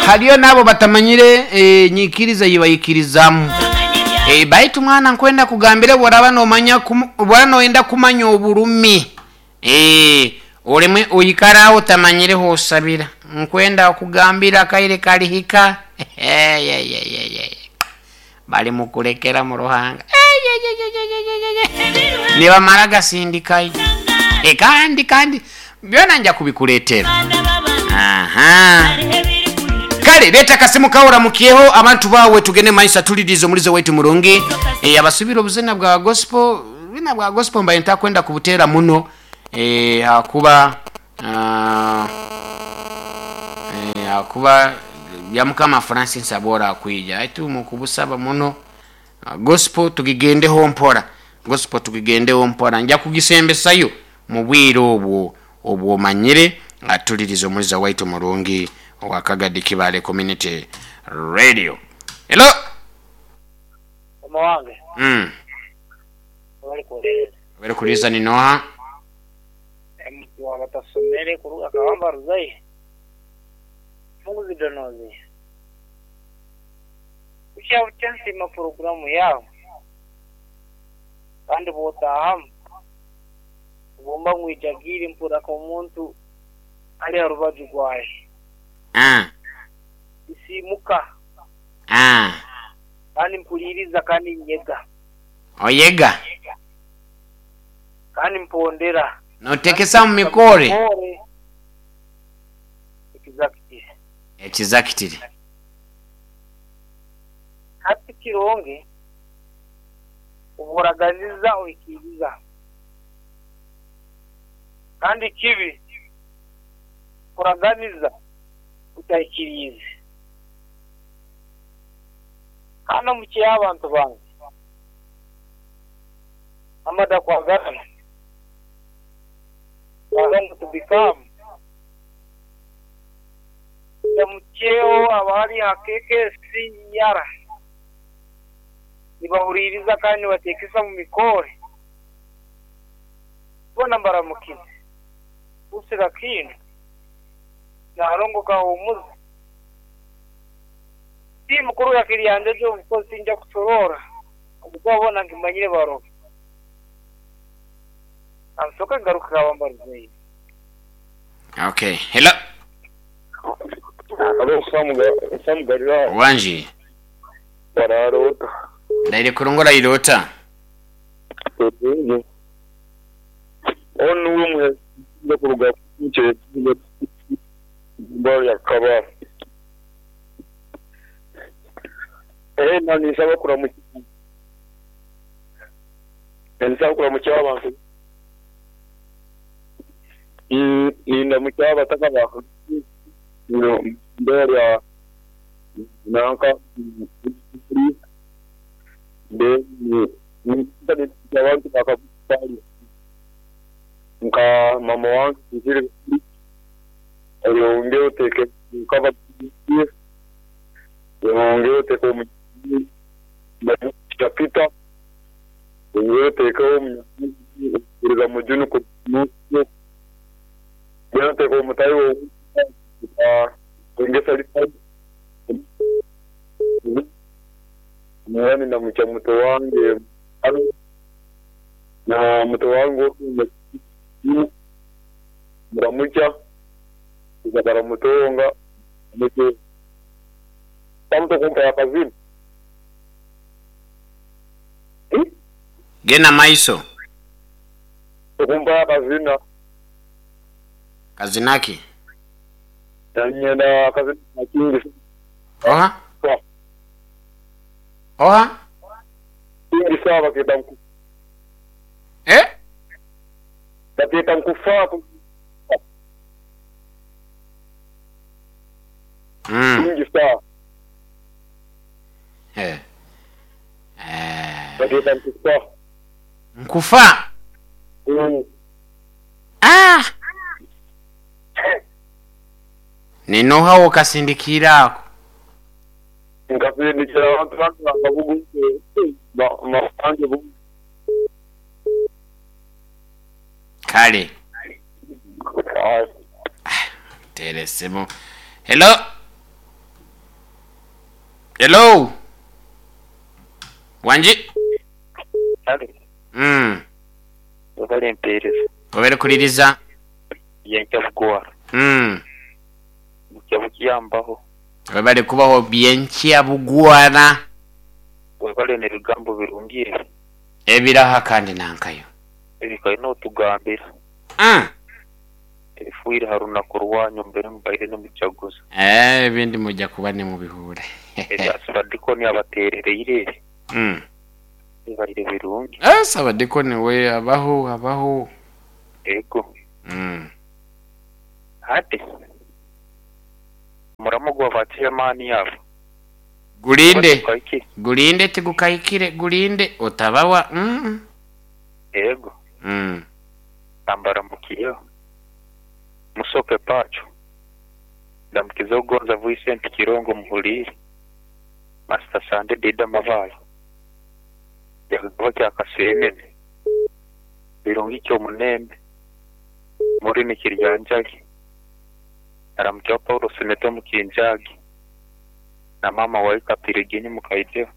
Haliyo n'abo batamanyire enyikiriza ei baikirizamu. Baitu mwana nkwenda kugambira bworaba nomanya bworaba noyenda kumanya oburumi, oleme oikara aho otamanyire hosabira. Nkwenda kugambira akaire kalihika balimukulekera mu Ruhanga. Nibamara gasindikayo. Kandi kandi byona nja kubikuleetera. Aha. Kale leeta akasimu kawe oramukyeho abantu bawe tugende maiso atulirize omulizo waitu murungi. Abasubira obuzina bwa gospel, obuzina bwa gospel mbaire ntakwenda kubuteera muno ahakuba ahakuba Byamukama Francis abwora akwija baitu mukubusaba muno. Gospel tugigendeho mpora, gospel tugigendeho mpora, nja kugisembesayo mu bwire obwo obwomanyire. Atulirize omuliza waitu murungi owa Kagadi Kibaale Community Radio. Hello. Mama wange. Webale kuwuliriza. Webale kuwuliriza ni noha? MC wa batasomere kuruga Kawamba Ruzai. Muguzi Donozi. Bukya bukya nsiima puroguramu yaawe kandi bw'otaahamu obumba ngwijagiire mpurra nk'omuntu ali ha rubaju rwaye. Nsiimuka kandi mpuliiriza kandi nyega. Oyega? Kandi mpondera. Notekesa mu mikoore? Ekizakitiri. Ekizakitiri. Hati kirungi obworaganiza oikiriza, kandi kibi kuraganiza otaikiriize. Kandi omu kyeyo abantu bange amada kwagarana, kwagana to become. Ndamukyeho abari aha KKC Yara nibahuriiriza kandi nibateekesa mu mikore. Boona mbaramukize. Lucy Kakindu Nalongo Kahumuza. Tiimu kuruga Kiryanjojo obukozi tinja kusoroora ahabw'okuba boona nkimanyire baroho. Kansooke ngaruke Kabamba Ruzaire. Okay. Hello. Halo Sam Galilaya. Wangi. Waraara ota? Ndaire kurungi oraire ota? Kurungi. Onu nuwe muheereza kuruga Ibara lya Kabale. Ena ninsaba kuramukya ninsaba kuramukya abantu nindamukya abataka ba ibara lya nanka then abantu ba nka mama wange oyongere oteeke nkaba oyongere oteeke Peter oyongere oteekeho omunyamuriza Mujuni oyongere oteeke omutahi ndamukya muto wange na muto wange muramukya baramutonga bamutokumpa akazina. Genda maiso. Okumpa akazina. Kazina ki? Nanyenda akazina kingi. Oha? Oha? Kingi sawa baketa mku. Eh? Baketa mkufa. Kingi sawa. Eh. Baketa mkufa. Nkufa? Ah! Ninoha wokasindikiira ako? Nkasindikira abantu bange bakabugu. Kale. Teresemo. Hello. Hello, wangi. Kale. Webale mpeereza. Webale kuliriza. Byenkya bugwara. Bukya bukiyambaho. Webale kubaho byenkya bugwara. Webale n'ebigambo birungi ebyo. Ebiraha kandi nankayo. Ebikaire n'otugambira. Ebifiire ha runaku rwanyu mbere mubaire nimujaguza. Ebindi muja kuba nimubihuura. Ebya Ssabadikoni abateerereire ebi bibaire birungi. Ssabadikoni we abaho abaho. Ego. Hati omuramo gwa ba chairman abo. Gulinde, gulinde tigukahikire, gulinde otabawa. Ego. Ambaramukireho. Musoke Pacho. Ndamukize Ogonza Vincent Kirongo muhuliire. Master Sande Dida Mabaale. Kyakagaba kya Kaseenene. Birungi Kyomunembe. Murini Kiryanjali. Naramukyeho Paulo Simeto Mukinjagi. Na maama waika Piriginyi Mukaideo.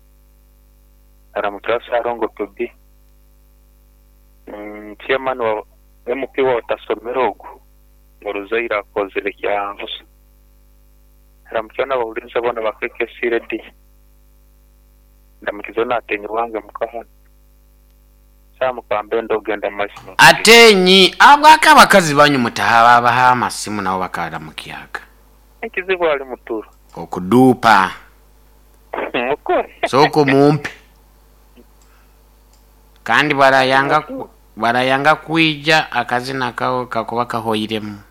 Naramukyeho Ssalongo Tobi. Chairman wa MP wa Otasomera ogu oruzaire akozire kya busa. Naramukyeho n'abahuliiriza boona ba KKC Radio. Ndamukizeho n'atenyi wange muka hanu. Sam Kambenda ogenda mu maiso n'okuteesa. Atenyi, Habwaki abakazi banyu mutabaha amasimu nabo bakaramukyaga? Ekizibu ali muturo. Okuduupa. Mukore. Sooka omumpe. Kandi bwarayanga kwija akazina kawe kakuba kahoiremu.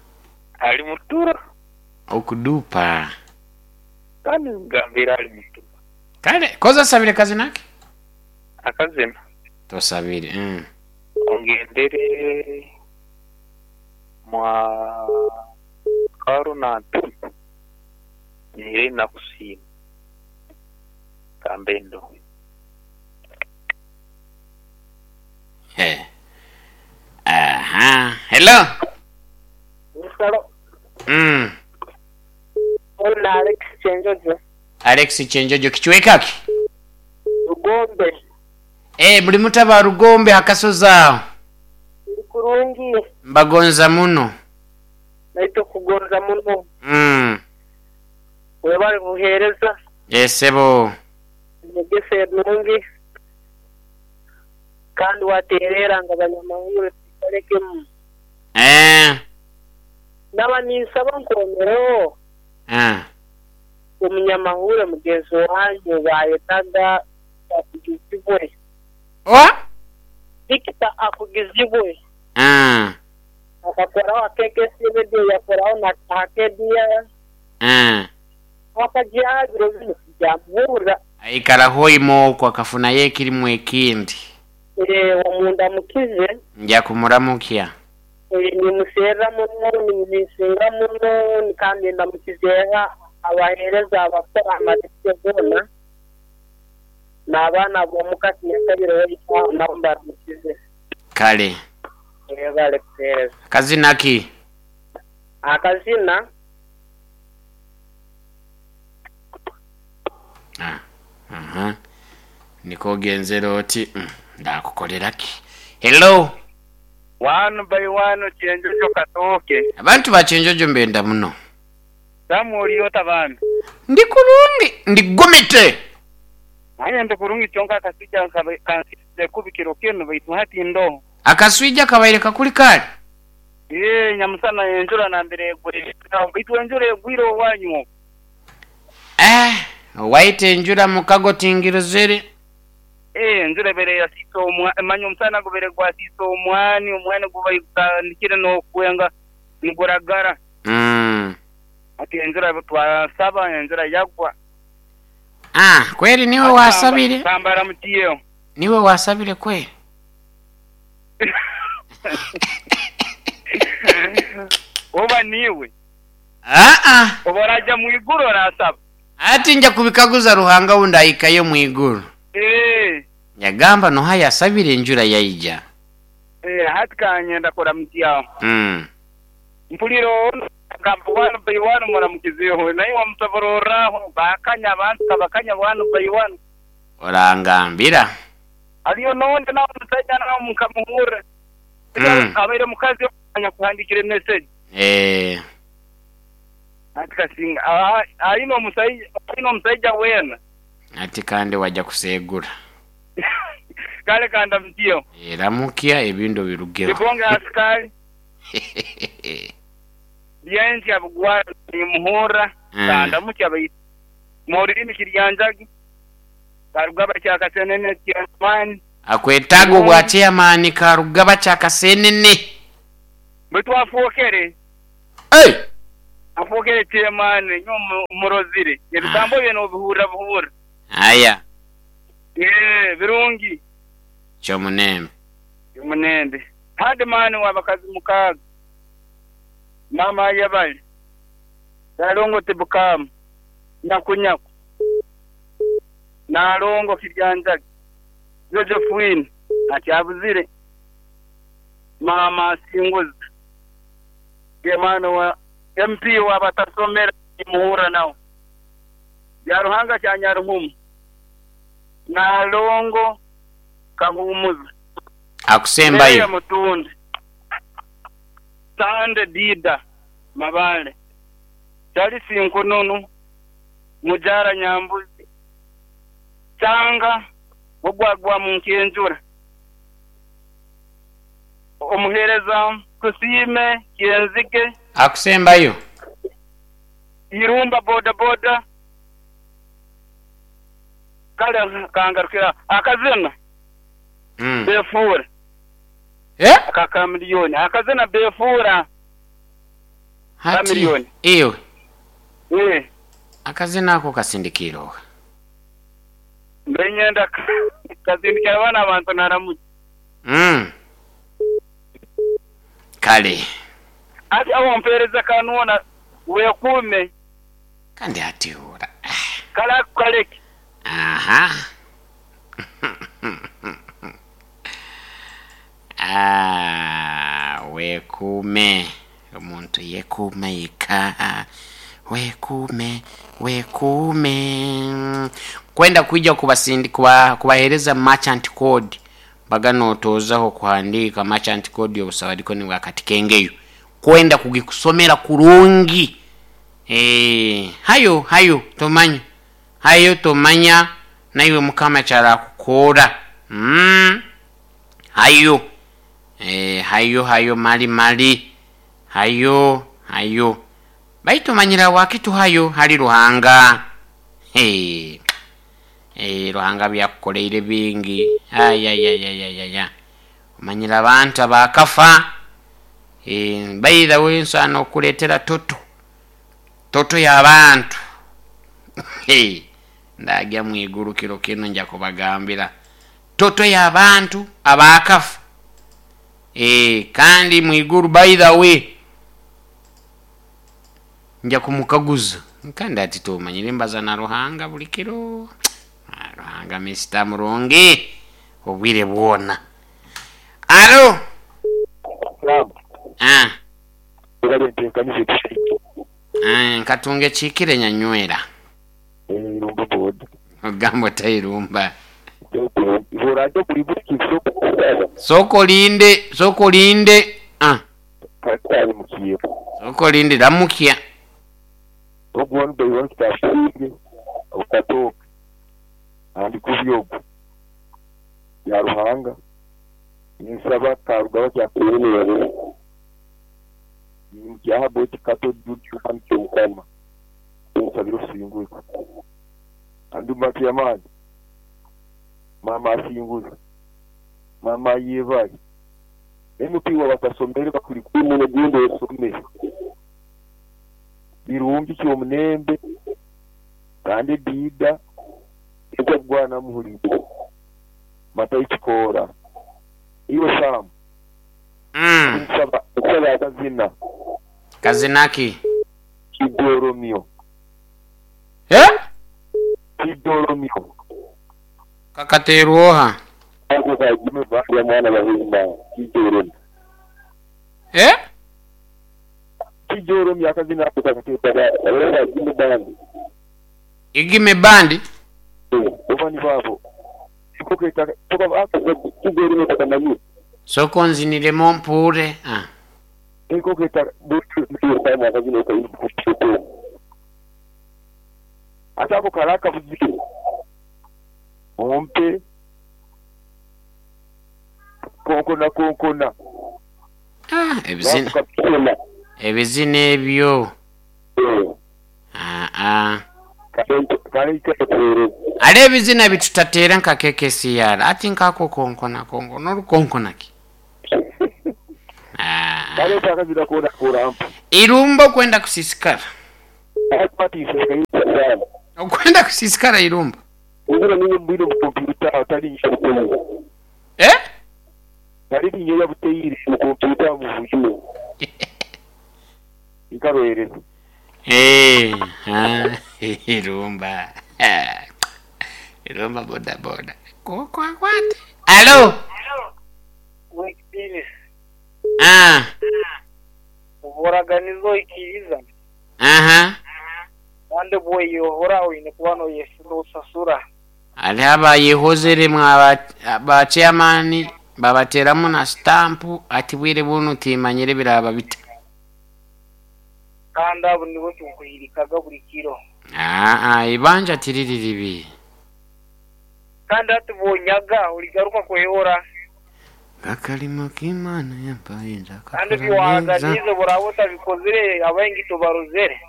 Ali muturo. Okuduupa. Kandi ngambira ali muturo. Kale, koza osabire kazina ki? Akazina? Tosabire. Ongendere mwa Karo na Ntuni nyire nakusiima kambe ndo. He. Aha. Hello. Hello. Ono Alex Kyenjojo. Alex Kyenjojo kichweka ki? Rugombe. Eh, muli muta ba Rugombe hakasozi aho. Ndi kurungi. Mbagonza muno. Naitwe kugonza muno. Webale buhereza. Yes sebo. Enyegesa enungi kandi waterera ngu abanyamahurire tubikolekemu. Naba ninsaba nkomereho omunyamahurire mugenzi wange ou bayetaga Akugizibwe. Oha? Victor Akugizibwe. Akakoraho aha KKC Radio yakoraho na aha KBS. Akagyaho ebiro binu tibyamuhurra. Aikara hoima okwo akafunayo ekirimu ekindi. Omundamukize. Nja kumuramukya. Nimuserra muno, nimumisinga muno kandi ndamukizeeha abaheereza abakora aha marediyo goona n'abaana ab'omuka tinyakabire waitu nabo mbaramukize. Kale. Mwebale kuheereza. Akazina ki? Akazina. Ah, aha. Niko ogenzere oti, ndaakukolera ki? Hello. One by one Kyenjojo Katooke. Abantu ba Kyenjojo mbenda muno. Samuel oli ota bambi? Ndi kurungi, ndi gumite. Aye ndi kurungi kyonka akaswija kansiize kubi kiro kinu baitu hati ndoho. Akaswija kabaire kakuli kale? Eeh nyamusana enjura nambere egwire baitu enjura egwire owanyu okwo. Eh, owaitu enjura mukago tingirozere. Eeh enjura ebaire yasiisa omwani, manya omusana gubaire gwasiisa omwani, omwani gubaire gutandikire n'okwenga niguragara. Hati enjura twasaba enjura yagwa. Ah, kweri niwe wasabire? Kambara mutiyo. Niwe wasabire kweri? Oba niiwe? Aa. Oba oraja mu iguru orasaba? Ati nja kubikaguza Ruhanga obu ndahikayo omu iguru. Ee. Yagamba noha yasabire enjura yaija. Ee, hati kanyenda kuramutsyaho. Mpulire ono Gamba 1 by 1 muramukizeho naye wamusobororraho bakanya abantu kabakanya 1 by 1. Orangambira. Aliyo nonde nawe omusajja nawe mukamuhurra. Abaire mukazi anyakuhandikire message. Ati kasinga aine omusaija weena. Ati kandi wajja kusegura. Kale kanda mutyo. Ramukya ebintu birugeho. Kibonge asikali. Byenki abugwara nimuhurra kanda mutya baitu. Morimi kiryanjagi. Karugaba kyakasenene chairman. Akwetaga obwa chairman Karugaba kyakasenene. Baitu afuokere. Hey! Afuokere chairman nyo murozire. Ebigambo bye nobihurra buhurra. Aya. Birungi. Kyomunembe. Kyomunembe. Hadi mani wabakazi mukaga. Mama yabali. Nalongo tibukamu. Nyakunyaku. Nalongo kiryanjagi. Josephine akyabuzire. Mama singuza. Gemano wa MP wa batasomera muhura nawo. Ya Ruhanga kyanyaruhumu. Nalongo kahumuza. Akusembayo. Mutundi. Sande Dida Mabale. Charles Nkununu Mujara Nyambuzi. Changa ogwagwa mu nkenjura. Omuhereza Kusime Kienzige. Akusembayo. Irumba boda boda. Kale kangarukira akazina. Befura. Akakamiliyoni. Akazina befura. Hati. Iyo. Akazina ako kasindikiro. Mbenyenda kasindikira abana abantu naramuki. Kale. Ati awo mpereza kanuona wekume. Kandi ati ora. Kala kaleki. Aha. Ah, wekume. Omuntu yekume yeka. Wekume, wekume. Kwenda kuija kubasindi kubahereza merchant code. Bagano otozaho kuhandika merchant code yobusawadiko ni wakati kengeyo. Kwenda kugikusomera kurungi. Hayo hayo tomanya. Hayo tomanya naiwe mukama kyara kukora. Hayo. Hayo hayo mali mali. Hayo hayo. Baitu manyira wakitu hayo hali Ruhanga. Hey. Ruhanga byakukoleire bingi. Ay ay ay ay ay ay. Manyira abantu abakafa. By the way nsano okuletera toto. Toto y'abantu. Hey. Ndagya mwiguru kiro kino nja kubagambira. Toto y'abantu abakafa. Kandi mwiguru by the way nja kumukaguza. Kandi ati tumanyire mbaza na Ruhanga buli kiro. Ruhanga Mr. Murungi obwire bwona. Alo. Ah. Nkatunge chikire nyanywera. Ogambo tairumba. Soko linde, soko linde. Ah. Soko linde ramukia. Andi kubyogo ya Ruhanga nisaba Karugaba kyakuyemerera nimukyaha boti kato dudu kamukama nsabira singuza andi mati mama asinguza mama yebaye emupiwa batasomere bakuri kumuntu gundo yosomere birumbi cyo munembe kandi dida ekogwana muhuri matayikora iyo sam nsaba kazina kazinaki kidoromio kidoromio kakateruoha ako kagime ba mwana bahimba kidoromio Kijoro akazina ako kakatetaga Igime Band. Igime Band. Obani babo. Ikoketa toka ako kijoro kakamanyi. Soko nziniremo mpure. Ah. Ikoketa butu kama akazina ko. Atako karaka buziku. Ompe konkona konkona. Ah, ebizina. Ebizina ebyo. Ah ah. Ale ebizina bitutatera nka KKCR. Ati nkako konkona konkona olukonkona ki. Ah. Irumbo kwenda kusisikara. Okwenda kusisikara irumbo. Eh? Eh, ah, irumba. Irumba boda boda. Kwa kwa. Alo. Ah. Uboraganizo ikiriza. Aha. Kandi bwoyihora oyine kuba noyesura. Ali abayihozere mwa ba chairman babateramu na stamp ati bwire bunu timanyire biraba bita. Kandi abo nibo tukuhirikaga buri kiro. Ah ah ibanja tiriri ribi. Kandi ati bonyaga uligaruka kwehora. Gakalimo k'Imana yampaye nzakakora. Kandi biwaganize burabota bikozire abengi tubaruzere.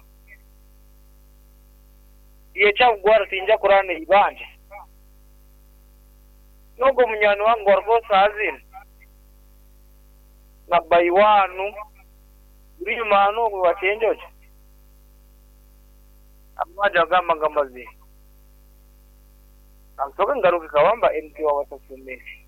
Iye cyagwara tinja kurane ibanje. Nogo munyano wangu warkosa azina. Na bayiwanu uri mano kubatenjoje. Amaja gamba ngamazi. Amsoka ngaruka kawamba MT wa watasumesi.